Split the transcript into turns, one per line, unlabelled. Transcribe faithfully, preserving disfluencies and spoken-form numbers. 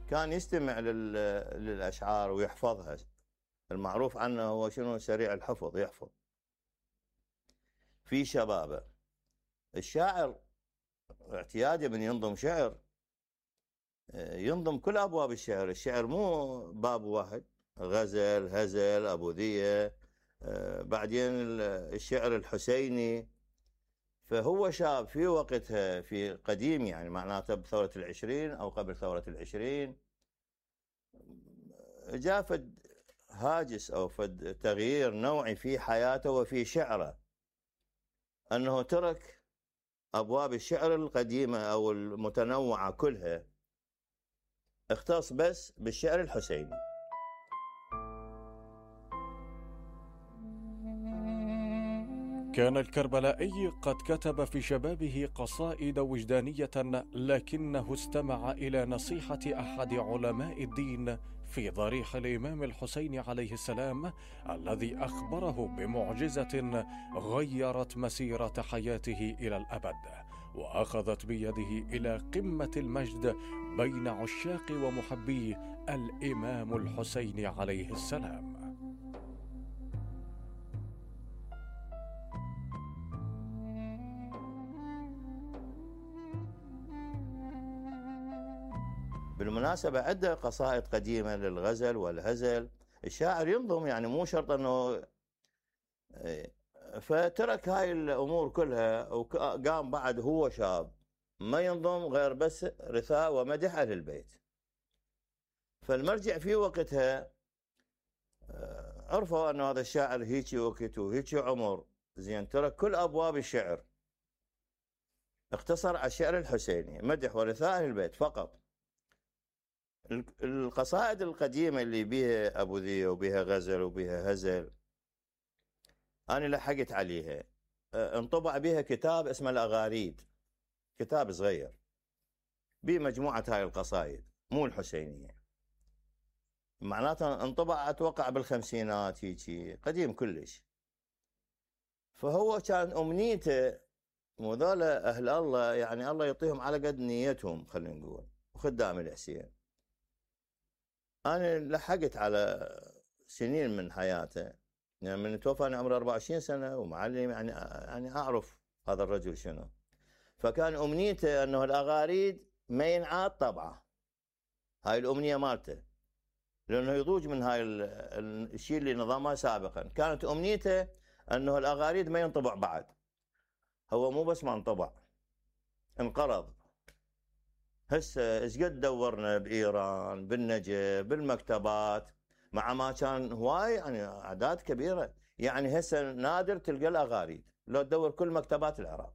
كان يستمع للأشعار ويحفظها. المعروف عنه هو شنو؟ سريع الحفظ، يحفظ. في شبابه الشاعر اعتيادي من ينظم شعر ينظم كل أبواب الشعر. الشعر مو باب واحد، غزل، هزل، أبوذية، بعدين الشعر الحسيني. فهو شاب في وقتها، في قديم يعني معناته بثورة العشرين أو قبل ثورة العشرين، جاء فد هاجس أو فد تغيير نوعي في حياته وفي شعره، أنه ترك أبواب الشعر القديمة أو المتنوعة كلها، اختص بس بالشعر الحسيني.
كان الكربلائي قد كتب في شبابه قصائد وجدانية، لكنه استمع إلى نصيحة أحد علماء الدين في ضريح الإمام الحسين عليه السلام، الذي أخبره بمعجزة غيرت مسيرة حياته إلى الأبد، وأخذت بيده إلى قمة المجد بين عشاق ومحبي الإمام الحسين عليه السلام.
بالمناسبة عدة قصائد قديمة للغزل والهزل. الشاعر ينظم، يعني مو شرط أنه، فترك هاي الأمور كلها وقام بعد هو شاب ما ينظم غير بس رثاء ومدح أهل البيت. فالمرجع في وقتها عرفوا أنه هذا الشاعر هيجي وقت وهيجي عمر، زين ترك كل أبواب الشعر، اقتصر على الشعر الحسيني، مدح ورثاء أهل البيت فقط. القصائد القديمة اللي بيها أبوذية وبيها غزل وبيها هزل أنا لحقت عليها، انطبع بيها كتاب اسمه الأغاريد، كتاب صغير بمجموعة هاي القصائد مو الحسينية، معناته انطبع أتوقع بالخمسينات، هيجي قديم كلش. فهو كان أمنيته وذولا أهل الله، يعني الله يعطيهم على قد نيتهم خلينا نقول، وخدام الحسين. أنا لحقت على سنين من حياته، يعني من توفى أنا عمري أربعة وعشرين سنة ومعلم، يعني يعني أعرف هذا الرجل شنو. فكان أمنيته أنه الأغاريد ما ينعاد طبعه، هاي الأمنية مالته، لأنه يضوج من هاي الشيء اللي نظامها سابقا. كانت أمنيته أنه الأغاريد ما ينطبع بعد. هو مو بس ما انطبع، انقرض. هسه ايش قد دورنا بايران، بالنجف، بالمكتبات، مع ما كان هواي يعني اعداد كبيره. يعني هسه نادر تلقى الاغاريد لو تدور كل مكتبات العراق.